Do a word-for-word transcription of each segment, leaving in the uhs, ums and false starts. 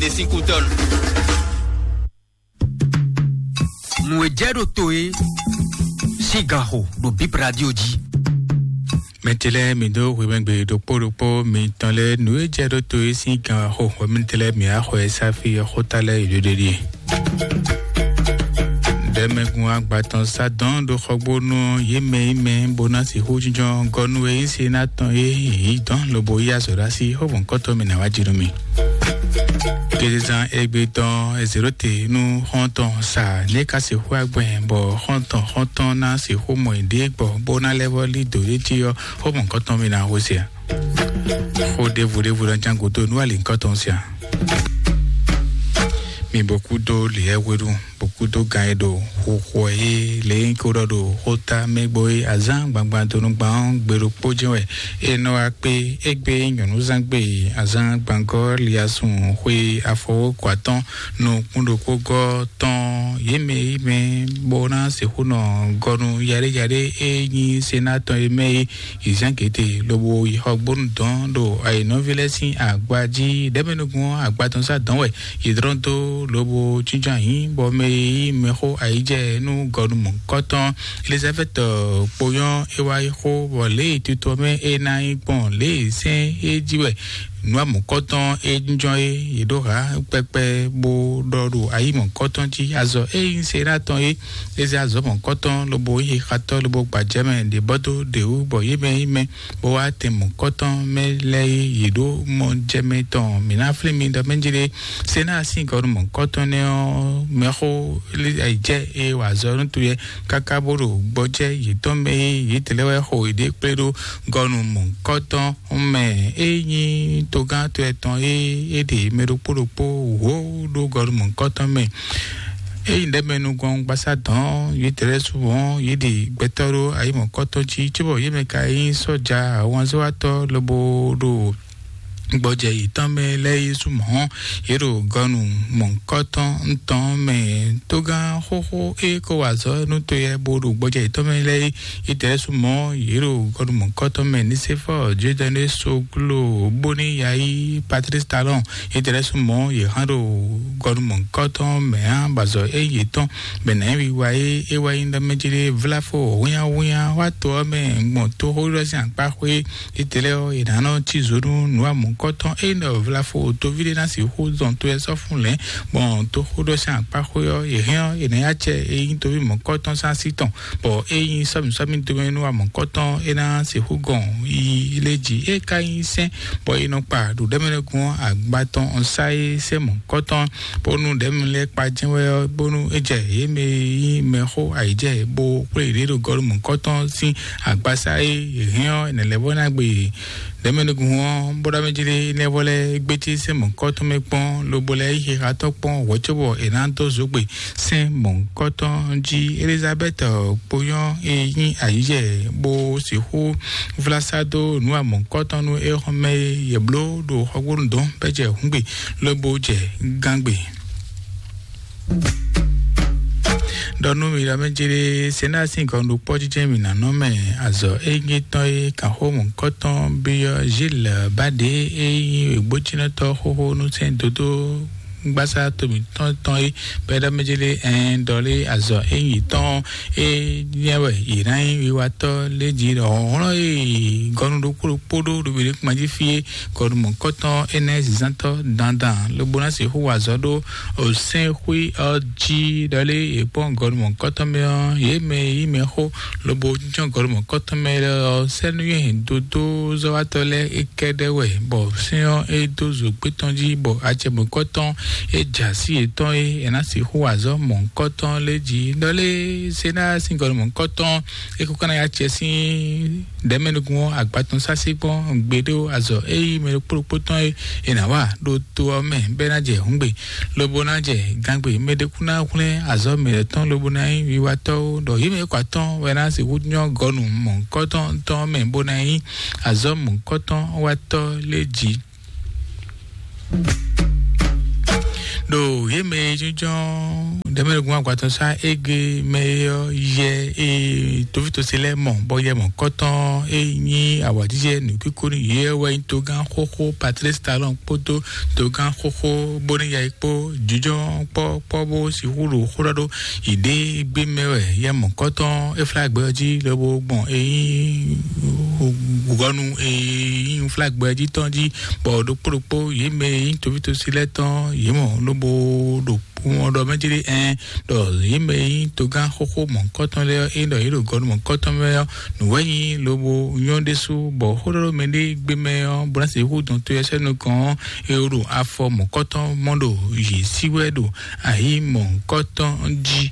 Ne sin kutɔn. Nǔ e jɛ ɖo to e sín gan xo ɖo Bip Radio jí. Mɛtɛlɛ mi dó hwemɛgbe ɖokpó ɖokpó mitɔn lɛ nǔ e jɛ ɖo to e sín gan xo hwɛmɛtɛlɛ mi axɔ e sáfi xóta lɛ yi ɖoɖe ɖie. Ɖɛmɛgun agbatɔn sá dɔn ɖo xɔgbónú yé mɛ yi mɛ bó ná sixú jínjɔ́n gɔ́nú e nyí se ná tɔn e yǐ dɔn lobo yí azɔ̌ ɖó así xó mɔ̌kɔtɔn mi ná wá jí nú mi. Kézezán égbé tɔn ezéɖóte nú xɔ́ntɔn sa ní ka sixú agbɛn bɔ xɔ́ntɔn xɔ́ntɔn ná sixú mɔ ìdí gbɔ bó ná lɛ́ vɔ́ lí dǒ yé jí ɔ́, xó mɔ̌kɔtɔn mi ná hó se a? Xó ɖěvo ɖěvo ná ján gǔdo nú alǐnkɔ́tɔn se a? Mi bó kú dó lǐɛ́ hwenu, bó kú dó gán e ɖo xixo e lě nyí ko ɖɔ ɖo xóta mɛ gbɔ é azán gbangban donu gban ɔ́ gbe ɖokpó jɛ́n wɛ é nɔ wá kpé. Égbé nyɔ̌núzán gbe azán gbangɔ́ liasun xwe afɔwókɔ atɔ́n nukún ɖokpó gɔ́ tɔn yě mɛ yi mɛ bó ná sixú nɔ gɔnu yaɖéyaɖé e nyí sená tɔn e mɛ é. Yi zán gěte lobo yi xɔgbónu dɔn ɖo ayǐnɔví lɛ́ɛ sín agba jí. Ɖɛ̌mɛnukún agba tɔn sá dɔn wɛ yi dlɔ́n dó lobo jínjɔ́n ayǐ bɔ mɛ e yí mɛxó ayǐjɛ nú gɔnu mɔ̌hunkɔtɔn Elizabɛ́ti kponyɔ́ é wá yi xó bɔ lě e tito mɛ é ná nyí gbɔn lě e sɛ́n é jí wɛ nǔ amɔ̌kɔ́tɔn é jínjɔ́n é. Yě ɖó hǎ kpɛkpɛ bó ɖɔ ɖo ayǐ mɔ̌kɔ́tɔn jí azɔ é nyí sená tɔn é. É zé azɔ̌ mɔ̌kɔ́tɔn lobo yí xatɔ́ lobo gbajɛmɛ ɖě bɔ́ dó ɖě wú bɔ yě mɛ nyí mɛ bó wá tɛn mɔ̌kɔ́tɔn mɛ lɛ́ɛ é. Yě ɖó mɔ jɛmɛ tɔn mǐ ná flín mi ɖɔ mɛ jí ɖé. Sená sín gɔnu mɔ̌kɔ́tɔn nɛ́ ɔ́ mɛxó jɛ é wa azɔ̌ nú toyɛ káká bó ɖo gbɔjɛ́ yětɔn mɛ é. Yětɛn lɛ́ɛ wɛ xo yěɖée kplé ɖó gɔnu mɔ̌kɔ́tɔn mɛ é nyí togán to ɛtɔn é. É ɖe mɛ ɖokpó ɖokpó wǒ ɖó gɔnu mɔ̌kɔ́tɔn mɛ. Ényí ɖɛ̌mɛnugɔn gbasá dɔn yě dlɛ́ su hɔn yě ɖi gbɛtɔ́ ɖó ayǐ mɔ̌kɔ́tɔn jí cóbɔ yě mɛ ka nyí sɔ́ja ahwanzɔ́watɔ́ lobo ɖo gbɔjɛ yětɔn mɛ lɛ́ɛ yí su mɔ̌. Yě ɖo gɔnu mɔ̌kɔ́tɔn ntɔn mɛ. Tógán xóxó é ko wa azɔ̌ nú toyɛ bó ɖo gbɔjɛ yětɔn mɛ lɛ́ɛ yí. Yě dlɛ́ su mɔ̌ yě ɖo gɔnu mɔ̌kɔ́tɔn mɛ. Nisefɔ Jodɛne Soglo bóní yayi Patrice Talon. Yě dlɛ́ su mɔ̌ yě hán ɖo gɔnu mɔ̌kɔ́tɔn mɛ ǎ bazɔ é yětɔn bɛnɛ wiwa é é wá nyí ɖɔ mɛ jí ɖé vláfo hwínnyáhwínnyá wá to ɔ́ mɛ gbɔn tóxóɖɔ sín akpá xwé. Étɛlɛ ɔ́, è nǎ nɔ cí zo nú nǔ amɔ̌kɔ́tɔn é nɔ vlafo toví ɖé ná sixú zɔn to ɛ sɔ́ fún lɛ̌, gbɔn toxóɖɔ sín akpá xwé ɔ́, è hɛn ɔ́, è nǎ yá acɛ e nyí toví mɔ̌kɔ́tɔn sín así tɔn, bɔ é nyí sɔ́mǐsɔ́mí domɛ nú amɔ̌kɔ́tɔn é ná sixú gɔn yi lé jí. É ka nyí sɛ́n, bɔ è nɔ kpa ɖo ɖɛ̌mɛnɛgun ɔ́ agba tɔn ɔ́ sá é sɛ́n mɔ̌kɔ́tɔn, bónú ɖɛ̌mɛ lɛ́ɛ kpa jɛ́n wɛ ɔ́, bónú é jɛ yě mɛ e nyí mɛxó ayǐjɛ bó xwlé yěɖée ɖo gɔ́ ɖo mɔ̌kɔ́tɔn sín agbasá e è hɛn ɔ́, è nǎ lɛ́ vɔ ná gbe yě. Ɖɛ̌mɛnúgun ɔ́, bó ɖɔ mɛ jí lé, é nɛ́ vɔ lɛ́ gbécí sɛ́n mɔ̌hunkɔtɔn mɛ kpɔ́n, lobo lɛ́ yí xixa tɔn kpɔ́n hwɛ̌ cóbɔ è nǎ dó zǒgbe sɛ́n mɔ̌hunkɔtɔn jí. Elizabɛ́ti kponyɔ́ e nyí ayǐjɛ bó sixú vlá sá dó nǔ amɔ̌hunkɔtɔn nú é xɔ́mɛ e yě bló ɖo xɔgbónu dɔn bɛ́ jɛ hǔngbe, lobo jɛ gángbe. Ɖɔ nú mi ɖɔ mɛ jí ɖé, Sɛnaa sín gɔnu ɖo kpɔ́ jijɛ mǐ ná nɔ mɛ azɔ̌ ényí tɔn e kan xó mɔ̌hunkɔtɔn byɔ́ Zíl Baɖě e nyí wěgbójínɔtɔ́ xóxó nú sɛ́n dodó gbásá to mǐtɔn tɔn é, bɔ é ɖɔ mɛ jí ɖé, ɛɛn, ɖɔ lé azɔ̌ ényí tɔn e nyɛ wɛ yě ná nyí wiwatɔ́ lé jí ɖɔ hlɔ̌nhlɔ́n e gɔnu ɖokpó ɖokpó ɖó ɖo mǐɖée kpan jí fí é, gɔnu mɔ̌hunkɔtɔn énɛ́ zǐnzántɔ́ dandan lobo ná sixú wa azɔ̌ ɖó osɛ́n xwí ɔ́ jí ɖɔ lé è kpɔ́n gɔnu mɔ̌hunkɔtɔn mɛ ɔ́, yě mɛ e yí mɛ xó lobo jínjɔ́n gɔnu mɔ̌hunkɔtɔn mɛ lɛ́ɛ ɔ́, sɛ́ nú yě hɛn dodózɔ́watɔ́ lɛ́ɛ é kɛ́ɖɛ́ wɛ, bɔ sɛ́n ɔ́ é dó zǒgbé tɔn jí, bɔ acɛ mɔ̌hunkɔtɔn é jɛ así yětɔn é è nǎ sixú wa azɔ̌ mɔ̌hunkɔtɔn lé jí. Ɖɔ lé Sɛnaa sín gɔnu mɔ̌hunkɔtɔn é kó ká ná yá acɛ sín ɖɛ̌mɛnukún ɔ́ agba tɔn sásí kpɔ́n gbeɖé azɔ̌ e yí mɛ ɖokpó ɖokpó tɔn e è nǎ wa ɖo to ɔ́ mɛ bɔ é ná jɛ hǔngbe, lobo ná jɛ gángbe. Mɛ ɖé kú ná hwlɛ́n azɔ̌ mǐtɔn lobo ná nyí wiwatɔ́ ó, ɖɔ yě mɛ e kɔ atɔ́n wɛ ná sixú nyɔ́ gɔnu mɔ̌hunkɔtɔn tɔn mɛ bó ná nyí azɔ̌ mɔ̌hunkɔtɔn watɔ́ lé jí. Ɖo yě mɛ e jínjɔ́n ɖɛ̌mɛɖogun agbatɔ́ sá égbé mɛ é ɔ́, yɛ e tovítɔ́sí lɛ́ɛ mɔ, bɔ yɛ mɔ̌kɔ́tɔn e nyí awǎjijɛ nǔkíkó nú yě ɔ́ wɛ nyí togán xóxó Patlísi Talɔn kpódó togán xóxó Bóníyayi kpó. Jínjɔ́n kpɔ́ kpɔ́ bó sixú ɖo xó ɖɔ ɖó yěɖée gbé mɛ wɛ. Yɛ mɔ̌kɔ́tɔn Eflágbɛ ɔ́ jí lobo gbɔn e nyí gɔnu e nyí Eflágbɛ ɔ́ jí tɔn jí, bɔ ɖokpó ɖokpó yě mɛ e nyí tovítɔ́sí lɛ́ɛ tɔn yě mɔ lobo ɖo kpɔ́n ɖɔ mɛ jí ɖé ɛn ɖɔ yě mɛ e nyí togán xóxó mɔ̌kɔ́tɔn lɛ́ɛ ɔ́, é ɖɔ yě ɖo gɔnu mɔ̌kɔ́tɔn mɛ ɔ́, nǔ wɛ nyí lobo nyɔ́ ɖésú, bɔ xó ɖɔ ɖó mɛ ɖé gbé mɛ ɔ́, bó ná sixú dɔn to ɛ sɛ́ nukɔn ɔ́, é ɖo afɔ mɔ̌kɔ́tɔn mɔ ɖo yě sí wɛ ɖo ayǐ mɔ̌kɔ́tɔn jí.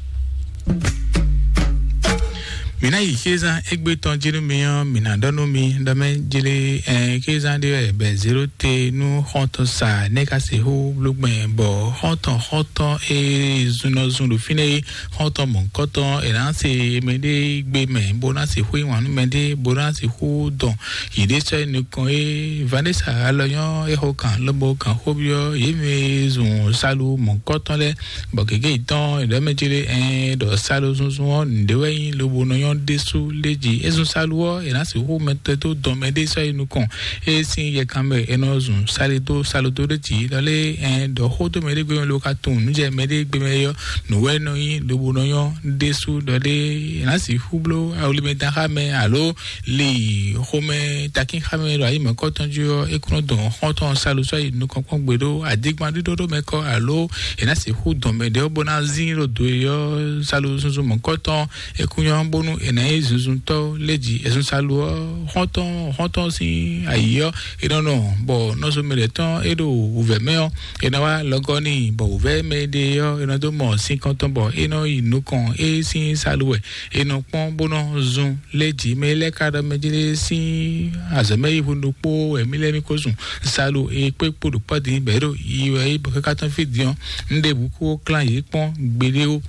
Mǐ ná yi xézán égbé tɔn jí nú mi ɔ́, mǐ ná ɖɔ nú mi ɖɔ mɛ jlé ɛn xézán ɖé wɛ bɛ zéro te nú xɔ́ntɔn sa nɛ́ ka sixú bló gbɛn bɔ xɔ́ntɔn xɔ́ntɔn e zun nɔ zun ɖo fínɛ́ é, xɔ́ntɔn mɔ̌hunkɔtɔn è nǎ se mɛɖé gbé mɛ bó ná sixú yí wǎn nú mɛɖé bó ná sixú dɔn yěɖée sɔ́ yi nukɔn é. Vanessa alɔnyɔ́ é xo kan lobo kan xó byɔ́ yě mɛ e zun salu mɔ̌hunkɔtɔn lɛ́ɛ bɔ gěgé yětɔn è ɖɔ mɛ jí ɖé ɛn ɖɔ salu zunzun ɔ́ nǔɖé wɛ nyí lobo nɔ nyɔ́ ɖésú lé jí. É zun salu ɔ́ è nǎ sixú mɛtɔ́ dó dɔn mɛɖé sɔ́ yi nukɔn é sín yɛkan mɛ è nɔ zun sali dó salu dó ɖé jí lɔ lé ɛn ɖɔ xó dó mɛɖé gbé mɛ lobo ka tunwun nǔ jɛ mɛɖé gbé mɛ é ɔ́ nǔ wɛ nɔ nyí lobo nɔ nyɔ́ ɖésú lɔ lé è nǎ sixú bló awlimɛ dán xá mɛ alo li xomɛ takín xá mɛ ɖo ayi mɔ̌kɔtɔn jí ɔ́ é kún nɔ dɔn xɔ́ntɔn salu sɔ́ yi nukɔn kpɔ́n gbe ɖó adigbán ɖíɖó ɖó mɛ kɔ alo è nǎ sixú dɔn mɛ ɖě ɔ́ bó ná zín ɖo do é ɔ́ salu zunzun mɔ̌kɔtɔn é kún nyɔ́ bónú è nǎ nyí zunzuntɔ́ lé jí è zun salu ɔ́ xɔ́ntɔn xɔ́ntɔn sín ayǐ ɔ́ è nɔ nɔ bɔ nɔzo mɛ ɖě tɔn é ɖo wǔvɛ́ mɛ ɔ́ è nɔ wá lɔgɔ́ n'i bɔ wǔvɛ́ mɛ ɖé ɔ́ è nɔ dó mɔ sín kɔntɔn bɔ é nɔ yi nukɔn é sín salu wɛ è nɔ kpɔ́n bó nɔ zun lé jí mɛ lɛ́ɛ ka ɖɔ mɛ jí lé sín azɔ̌ mɛ yi hu ɖokpó wɛ mí lɛ́ɛ mí ko zun salu e kpé kpo ɖo kpɔ́ din bɛ̌ ɖo yi wɛ yi bɔ káká tɔn fí din ɔ́ un ɖe bǔ kó klán yě kpɔ́n gbeɖé ó.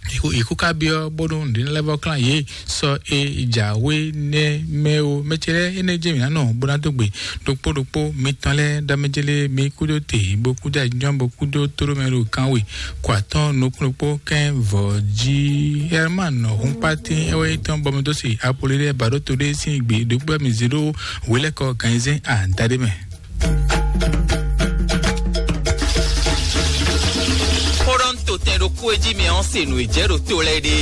Ìkú ìkú ká byɔ́ bónú nǔɖé lɛ́ɛ vɔ klán yě sɔ e jǎwe nɛ́ mɛ ó. Mɛ ce lɛ́ɛ énɛ́ jɛ mǐ ná nɔ bó ná dó gbe ɖokpó ɖokpó mitɔn lɛ́ɛ ɖɔ mɛ jí lé mí kúdó te bó kúdó ajínjɔ́n bó kúdó tóɖó mɛ ɖo kan we kɔ atɔ́n nukúnnukpó kɛ́n vɔ̌ jí. Herman Hunkpatin é wɛ nyí tɔn bɔmɔdósi Apolodé Baɖótodé sín gbe ɖokpó mi zé ɖó wělɛ́kɔ ganyizɛ́n adaɖé mɛ. Xó ɖɔ ń to tɛn ɖokpó e jí mɛ ɔ́ se nǔ e jɛ ɖo to lɛ́ɛ ɖe.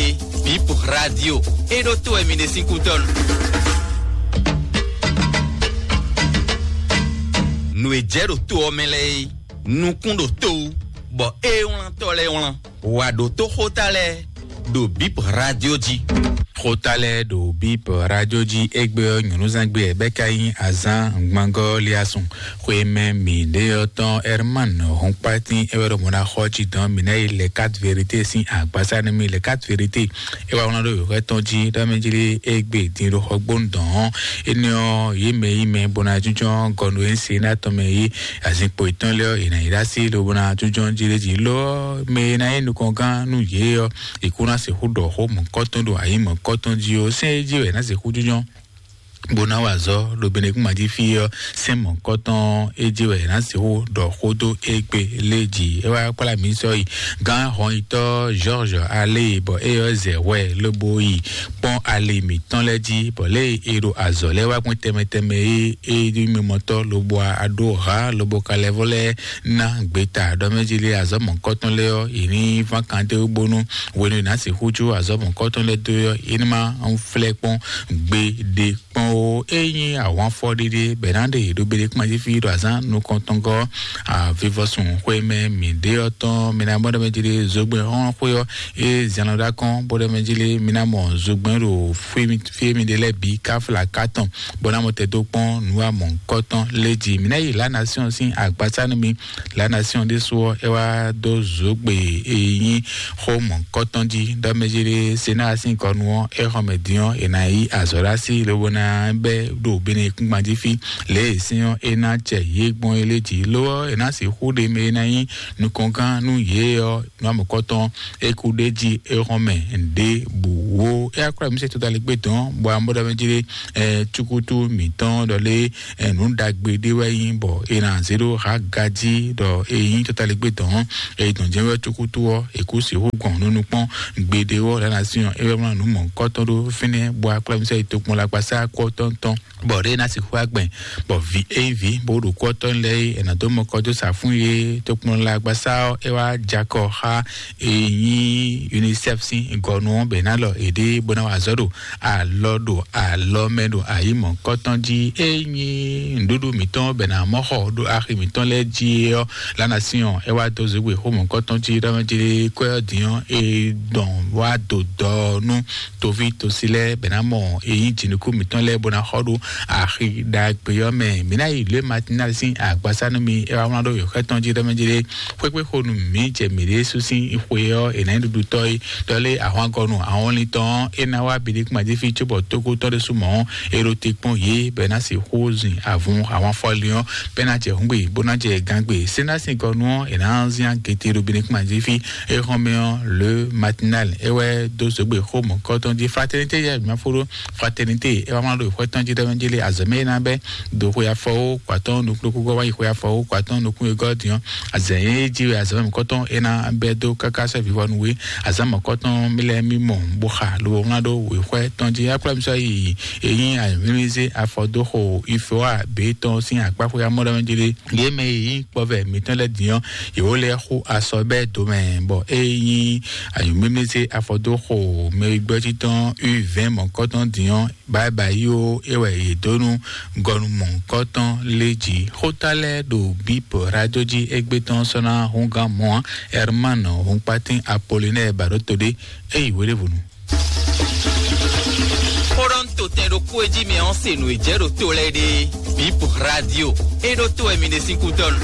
Bip Radio. E ɖo to wɛ mi ɖe sín kútɔ́nu. Nǔ e jɛ ɖo to ɔ́ mɛ lɛ́ɛ é. Nukún ɖo to wú, bɔ é wlán tɔ́ lɛ́ɛ wlán. Wǎ ɖótó xóta lɛ́ɛ ɖo Bip Radio jí. Xóta lɛ́ɛ ɖo Bip Radio jí égbé ɔ́ nyɔ̌nuzangbe ɛ bɛ́ ka nyí azán ngbangɔ́ liasun. Xwé mɛ mǐ ɖé ɔ́ tɔn Herman Hunkpatin é wɛ ɖo mɔ̌ ná xɔ jí dɔn mǐ ná yi Les Quatre Vérités sín agbásá nú mì. Les Quatre Vérités é wá wlán ɖó yǒxɔ tɔn jí ɖɔ mɛ jí lé égbé din ɖo xɔgbónu dɔn ɔ́. Énɛ́ ɔ́, yě mɛ yí mɛ bó ná jínjɔ́n gɔnu e se ná tɔn mɛ yí azinkpo yětɔn lɛ́ɛ ɔ́, yě ná yi ɖó así lobo ná jínjɔ́n jí lé jí lɔ mɛ e ná nyí nukɔngán nú yě ɔ́, è kú ná sixú ɖɔ xó mɔ̌kɔ́tɔn ɖo ayǐ mɔ̌kɔ́tɔn jí ó. Sɛ́n é jí wɛ è nǎ sixú jínjɔ́n bó ná wa azɔ̌ ɖo Benɛkúma jí fí ɔ́, sɛ́n mɔ̌kɔ́tɔn é jí wɛ è nǎ sixú ɖɔ xó dó égbé lé jí. É wá kplá mǐ sɔ́ yi gán hɔnyitɔ́ George Alé bɔ é ɔ́ zɛ hwɛ lobo yi kpɔ́n ali mǐtɔn lɛ́ɛ jí, bɔ lě e è ɖo azɔ̌ lɛ́ɛ wá gbɔn tɛnmɛ tɛnmɛ é é ɖo mimɔtɔ́ lobo aɖó ha lobo ka lɛ́ vɔ lɛ́ɛ ná gbeta ɖɔ mɛ jí lé azɔ̌ mɔ̌kɔ́tɔn lɛ́ɛ ɔ́, è ní ván kan dó bónú hwenu e è nǎ sixú jó azɔ̌ mɔ̌kɔ́tɔn lɛ́ɛ dó é ɔ́, é ní ma flɛ́ kpɔ́n gbeɖé kpɔ́n ó. É nyí ahwanfɔ ɖéɖé bɛ̌ ná ɖe ɖo Benɛkúma jí fí ɖo azǎn nukɔntɔngɔ́ avivɔsun xwé mɛ mǐ ɖé ɔ́ tɔn mǐ ná mɔ ɖɔ mɛ jí lé zogbɛ́n xɔ́n xwé ɔ́ é zɛn lɔ ɖó akɔ́n bó ɖɔ mɛ jí lé mǐ ná mɔ zogbɛ́n ɖo fí e mì ɖe lɛ́ɛ bǐ káfla kátɔn bó ná mɔ tɛ dó kpɔ́n nǔ wa mɔ̌hunkɔtɔn lé jí. Mǐ ná yi La Nation sín agbasá nú mi. La Nation ɖésú ɔ́, é wá dó zǒgbe e nyí xó mɔ̌hunkɔtɔn jí ɖɔ mɛ jí lé Senáa sín kɔnu ɔ́, é xɔ mɛ din ɔ́, è nǎ yí azɔ̌ ɖó así lobo ná bɛ́ ɖo Benɛkúngban jí fí. Lě e sɛ́n ɔ́ é ná jɛ yě gbɔn é lé jí ló ɔ́, è nǎ sixú ɖe mɛ e ná nyí nukɔngán nú yě ɔ́, nú amɔ̌kɔtɔn é kú ɖ'é jí é hɔn mɛ ɖěbǔ ó. É wá kplá mǐ sɛ́ todalɛgbé dɔn bɔ amɔ̌ɖɔmɛ jí ɖé cukutu mǐtɔn ɖɔ lé nǔ ɖagbe ɖé wɛ nyí bɔ è nǎ zé ɖó Haga jí ɖɔ é nyí totaligbé dɔn. Eye dɔn jɛ́n wɛ cukutu ɔ́, è kú sixú gbɔn nú nukpɔ́n gbeɖé ɔ́ lɛ́ ná syɔ́n é wɛ mlá nǔ mɔ̌hunkɔtɔn ɖó fínɛ́ bɔ akplámísá yi tokpɔn lagbasá kú ɔ́ tɔn tɔn. Bɔ ɖé ná sixú agbɛn bɔ vǐ é nyí vǐ bó ɖo kú ɔ́ tɔn lɛ́ɛ é è nǎ dó mɔkɔ dó sa fún yé tokpɔn lagbasá ɔ́ é wá jakɔ xá e nyí UNICEF sín gɔnu ɔ́ bɛ ná lɔ èɖée bó ná wa azɔ̌ ɖo alɔ ɖo alɔ mɛ ɖo ayǐ mɔ̌kɔtɔn jí. É nyí nǔɖuɖu mǐtɔn bɛ ná mɔ xɔ ɖo axi mǐtɔn lɛ́ɛ jí é ɔ́, lánàá sin ɔ́ é wá dó zěgbé xó mɔ̌kɔtɔn jí ɖɔ mɛ jí kwɛ ɔ́ dín ɔ́ é dɔn wá do dɔ nú toví tosi lɛ́ɛ bɛ ná mɔ é nyí jǐnukú mǐtɔn lɛ́ɛ bó ná xɔ ɖo axi ɖagbe ɔ́ mɛ. Mǐ ná yi lě matinal sín agbasá nú mi é wá wlán ɖó yǒxɛ tɔn jí ɖɔ mɛ jí xwékpé xo nú mǐ jɛ mǐɖée sú sín xwe ɔ́ è nǎ nyí ɖuɖutɔ́ é ɖɔ lé ahwangɔnu ahɔnlin tɔn ɔ́ é ná wá biɖé kún ajífi cóbɔ tókó tɔn ɖésú mɔ̌ é ɖo te kpɔ́n yě bɔ é ná sixú zin avun ahwan fɔlin ɔ́ bɔ é ná jɛ hǔngbe bó ná jɛ gangbe sénásingɔnu ɔ́ è nǎ zin agete ɖo biɖé kún ajífi é xɔn mɛ ɔ́ le matinal é wɛ dó zogbe xó mɔ̌kɔtɔn jí fraternité yɛ mafó ɖó fraternité é wá wlán ɖo ìxwɛ tɔn jí ɖɔ mɛ jí lé azɔ̌ mɛ é ná bɛ́ do xwe afɔwó kpatɔn nukúnukúngɔ́ wá yi xwe afɔwó kpatɔn nukún e gɔ́ din ɔ́, azɛ̌ e jí wɛ azɔ̌ mɛ mɔ̌kɔtɔn é ná bɛ́ dó káká sɔ́ vivɔnu wé azǎn mɔ̌kɔtɔn mí lɛ́ɛ mí mɔ bó xa lobo wlán ɖó wěxwɛ́ tɔn jí. Akplámísɔ yi e nyí ayǐmlímlízé afɔdóxo ifewa bě tɔn sín akpáxwé amɔ́ɖɔmɛ jí lé. Yě mɛ e nyí kpɔvɛ mǐtɔn lɛ́ɛ din ɔ́, yě wó lɛ́ xú asɔ bɛ́ domɛ bɔ é nyí ayǐmlímlízé afɔdóxo mɛ e gbɛ́ títɔn u vɛ̌ɛn mɔ̌kɔtɔn din ɔ́, báyìí ó é wɛ yě dó nú gɔnu mɔ̌hunkɔtɔn lé jí. Xóta lɛ́ɛ ɖo bíp radio jí égbé tɔn sɔ́ ná húngán mɔ̌ ǎ. Herman Hunkpatín Apollinaire Baɖótodé é yi hweɖěvɔnu. Xó ɖɔ ń to tɛn ɖokpó e jí mɛ ɔ́ se nǔ e jɛ ɖo to lɛ́ɛ ɖe. Bíp radio é ɖó to wɛ mi ɖe sín kú dɔnu.